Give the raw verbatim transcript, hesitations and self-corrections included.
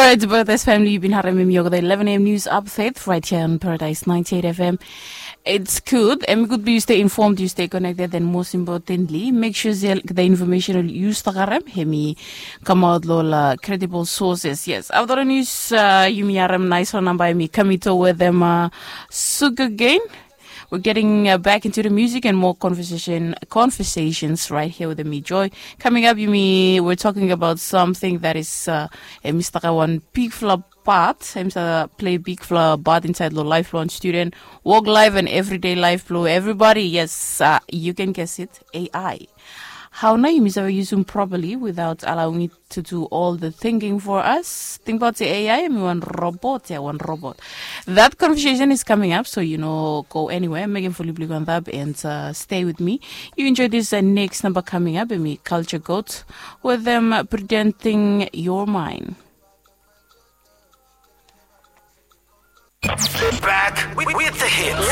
Alright, Brothers family, you've been harem him yoga the eleven a.m. news update right here on Paradise ninety-eight F M. It's good. Em i gud blong yu stay informed, yu stay connected, and most importantly, make sure se the information yu stap harem hem i kamaot long credible sources. Yes, after the news, uh, yumi harem nice one by me, Kamito with them, uh, Sugar Gain. We're getting uh, back into the music and more conversation conversations right here with me, Joy. Coming up, yumi we're talking about something that is uh, a Mister One big flop part. Em sa play big flop part inside lo lifelong student work life and everyday life blong everybody. Yes, uh, you can guess it, A I. Hao nao yumi save yusum properly without allowing it to do all the thinking for us? Tingbaot se A I em i wan robot, ya, wan robot. That conversation is coming up, so you know, go anywhere. Mekem fully blong antap and uh, stay with me. You enjoy this uh, next number coming up, em i Culture Goat with them uh, Pretending You're Mine. Back with, with the hits.